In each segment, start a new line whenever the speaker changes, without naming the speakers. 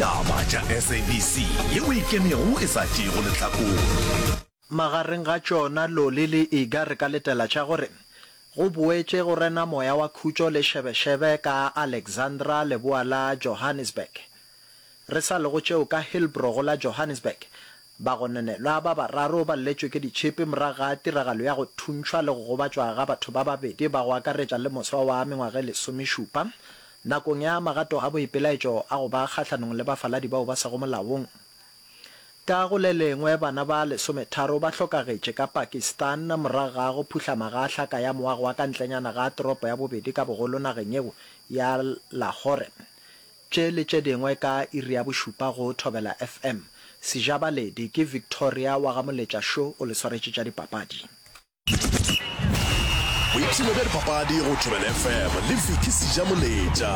Taba tša SABC yeo e ikemego e sa tšeego lehlakore.
Magareng ga tšona Loli le Iga re ka letela tša gore go boetše go rena moya wa khutšo le šebešebe ka Alexandra leboa la Johannesburg. Re sa le go tšeo ka Hillbrow go la Johannesburg, bagononelwa ba bararo ba lletšwe ke ditšhipi morago ga tiragalo ya go thuntšhwa le go gobatšwa ga batho ba babedi ba go akaretša le moswa wa mengwaga e lesomešupa nakong ya magato a boipelaetšo a go ba kgahlanong le bafaladi bao ba sego molaong. Ka go le lengwe, bana ba lesometharo ba hlokagetše ka Pakistan morago ga go phuhlama ga hlaka ya moago wa ka ntlenyana ga toropo ya bobedi ka bogolo nageng yeo ya Lahore. Tše le tše dingwe ka iri ya bošupa go Thobela FM. Sejabaledi ke Victoria wa ga Moletša Šo o le swaretše tša dipapadi.
Boipshino bja dipapadi go Thobela FM le Vicky Sejamoletša.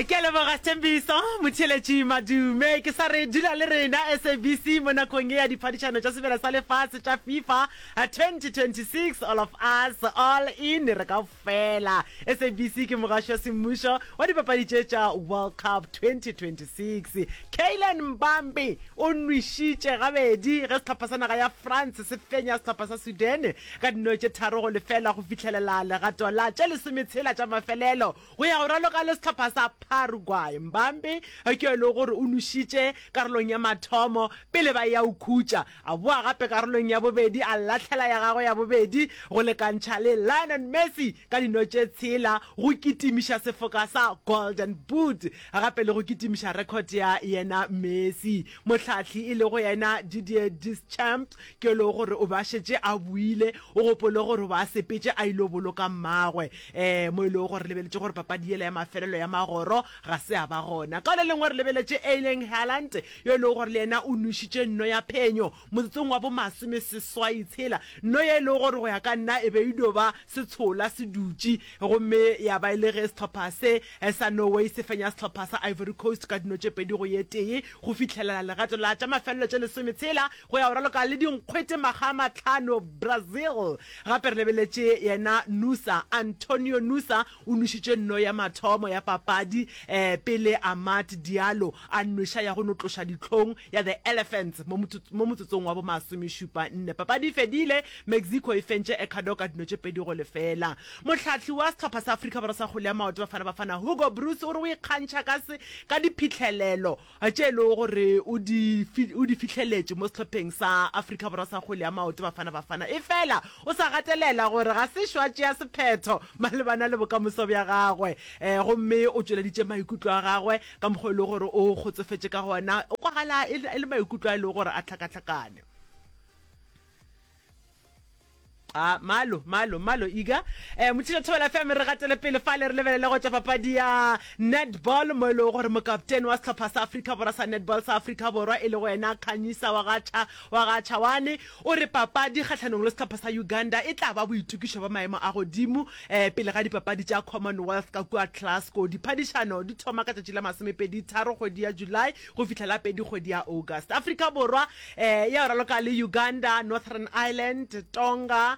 Ke a leboga Sthembiso Motheeletši Madume. Ke sa re dula le rena SABC mo nakong ye ya diphadišano tša sebjana sa lefase tša FIFA 2026 All of Us All In re ka Fela SABC ke mogaši wa semmušo wa dipapadi tše tša World Cup 2026. Kylian Mbappe o nwešitše gabedi ge sehlopha sa naga ya France se fenya sehlopha sa Sudan ka dino tše 3-0 go fihlelela legato la tše lesometshela tša mafelelo go ya go raloka le sehlopha sa Paraguay. Mbappe ke yo e lego gore o nwešitše karolong ya mathomo pele ba eya go khutša. A boa gape karolong ya bobedi, a lahlela ya gagwe ya bobedi go lekantšha le Lionel Messi ka dino tše tshela go kitimiša sefoka sa Golden Boot gape le go kitimiša record ya yena Messi. Mohlahli e lego yena Didier Deschamps ke yo e lego gore o be a šetše a boile, o gopole gore o be a sepetše a ilo boloka mmagwe um mo e lego gore re lebeletše gore papadi yela ya mafelelo ya magoro ga se a ba gona. Ka le lengwe re lebeletše Erling Haaland yo e lego gore le yena o nwešitše nno ya phenyo motsotsong wa bomasomeseswai tshela, nno ye e lego gore go ya ka nna e be e dio ba setshola se dutše, gomme ya ba e le ge sehlopha se sa Norway se fenya sehlopha sa Ivory Coast ka dino tše pedi go ye tee go fihlelela legato la tša mafelelo tše lesometshela go ya go raloka le dinkgwete makga a mahlano Brazil. Gape re lebeletše yena Nusa, Antonio Nusa o nwešitše nno ya mathomo ya papadi pele Amad Diallo a nweša ya go no tloša dihlong ya The Elephants mo mo motsotsong wa bomasomešupa nne. Papadi e fedile, Mexico e fentše Ecuador ka dino tše 2-0. Mohlahli wa sehlopha sa Afrika Borwa sa kgwele ya maoto Bafana Bafana Hugo Broos o re o ikgantšha ka se ka diphihlelelo tše e lego gore o di o di fihleletše mo sehlopheng sa Afrika Borwa sa kgwele ya maoto Bafana Bafana efela o sa gatelela gore ga se šo a tšea sephetho malebana le bokamoso bja gagwe gomme o tšweleditše maikutlo a gagwe ka mokgwa e lego gore o kgotsofetše ka gona o kwagala e le maikutlo a e lego gore a hlakahlakane. A malo, malo, malo, iga. Eh, Motšhila Thobela FM re gatele pele fale re lebelele go tša papadi ya netball mo e lego gore mokaptene wa sehlopha sa Afrika Borwa sa netball sa Afrika Borwa e lego yena Khanyisa wa ga Cha wa ga Chawane o re papadi kgahlanong le sehlopha sa Uganda e tla ba boitokišo bja maemo a godimo eh, pele ga dipapadi tša Commonwealth ka kua Glasgow. Diphadišano di thoma ka tšatši la masomepedi tharo kgwedi ya July go fihla la pedi kgwedi ya August. Afrika Borwa eh, ya raloka le Uganda, Northern Ireland, Tonga,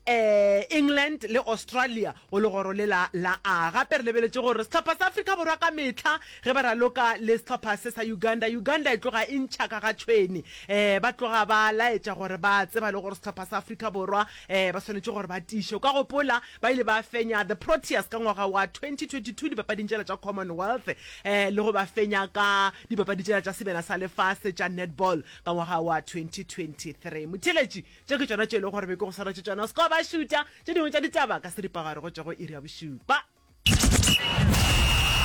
eh, England le Australia go legoro le la la A. Gape re lebeletše gore sehlopha sa Afrika Borwa ka mehla ge ba raloka le sehlopha se sa Uganda, Uganda e tloga e ntšha ka ga tšhwene. Eh, ba tloga ba laetša gore ba tseba le gore sehlopha sa Afrika Borwa eh, ba swanetše gore ba tiiše. O ka gopola ba ile ba fenya The Proteas ka ngwaga wa 2022 dipapading tšela tša Commonwealth eh, le go ba fenya ka dipapadi tšela tša Sebjana sa Lefase tša Netball ka ngwaga wa 2023. Motheeletši, tše ke tšona tše e lego gore be ke go swaretše tšona. O se ke wa ba šutša tše dingwe tša ditaba ka seripagare go tšwa go iri ya bošupa.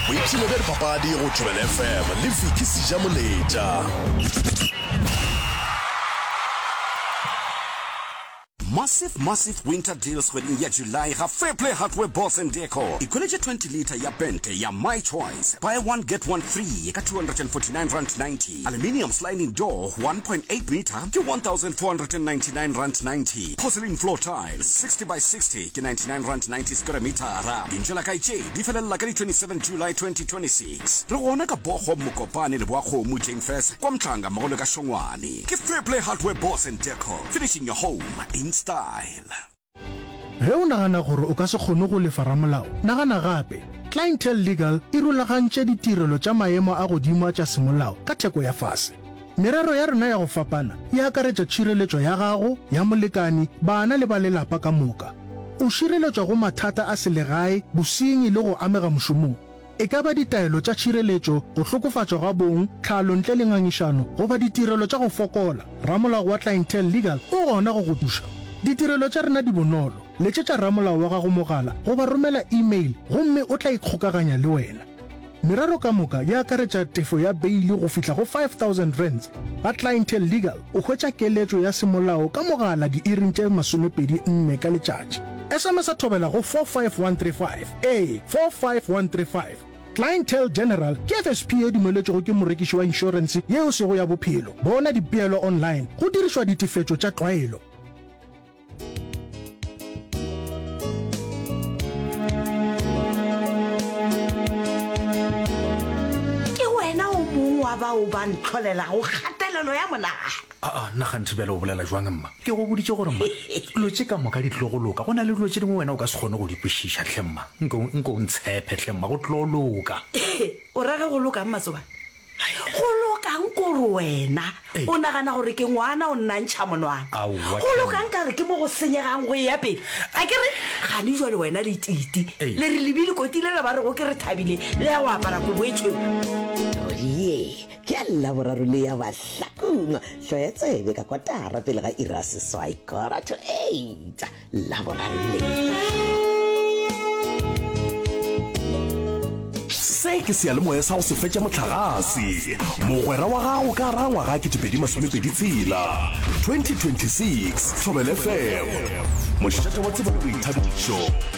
Boipshino bja dipapadi go Thobela FM le Vicky Sejamoletša.
Massive massive winter deals kgweding ya July ga Fairplay Hardware Boss and Decor. Ikhweletše 20 litre ya pente ya My Choice, buy one get one free ka R249.90. Aluminium sliding door 1.8 meter ke R1,499.90. Porcelain floor tiles 60 by 60 ke R99.90 square metara. Dintšo la kae tše di felelela ka di 27 July 2026. Re gona ka Bochum, Mokopane, Leboakgomo, Jane Furse, kwa Mhlanga mmogo le ka Šongwane. Ke Fairplay Hardware Boss and Decor, finishing your home in style.
Ge o nagana gore o ka se kgone go lefa ramolao, nagana gape. Clientele Legal e rulagantše ditirelo tša maemo a godimo a tša semolao ka theko ya fase. Merero ya rena ya go fapana e akaretša tšhireletšo ya gago, ya molekani, bana le ba lelapa ka moka. O šireletšwa go mathata a selegae, bosenyi le go amega mošomong. E ka ba ditaelo tša tšhireletšo, go hlokofatšwa ga bong, tlhalo ntle le ngangišano, goba ditirelo tša go fokola, ramolao wa Clientele Legal o gona go go thuša. Ditirelo tša rena di bonolo. Letšetša ramolao wa gago mogala goba romela e-mail gomme o tla ikgokaganya le wena. Merero ka moka e akaretša tefo ya beili go fihla go R5000. Ga Clientele Legal o hwetša keletšo ya semolao ka mogala diiring tše 24 ka letšatši. SMS-a thobela go 45135. Ee, 45135. Clientele General ke FSP ye dumeletšwego ke morekiši wa inšorense ye e sego ya bophelo. Bona dipeelo online go dirišwa ditefetšo tša tlwaelo.
Ke wena o mongwe wa bao ba ntlholelago kgatelelo ya monagano.
Aa, nna kganthe bjale o bolela jwang mma? Ke go boditše gore mma, dilo tše ka moka di tlo go loka. Go na le dilo tše dingwe wena o ka se kgone go di kwešiša hle mma. Nke, nke o ntshepe hle mma, go tlo loka.
O ra ge go lokang Matsobane? Go lokang kore wena o nagana gore ke ngwana o nna ntšha monwana? Go lokang ka re ke mo go senyegang go eya pele? A ke re gane jwale wena le Titi le re lebile koti lela ba rego ke re thabile le ya go apara kobo e tšhweu?
Ye ke ya Laboraro le ya Bahlakong, hloya tsebe ka kotara pele ga iri ya seswai, quarter to eight. Laboraro le.
Se ke seyalemoya sa go se fetša mohlagase, mogwera wa gago ka gara ngwaga 2026, 2026, Thobela FM, mošate wa tsebo le boithabišo.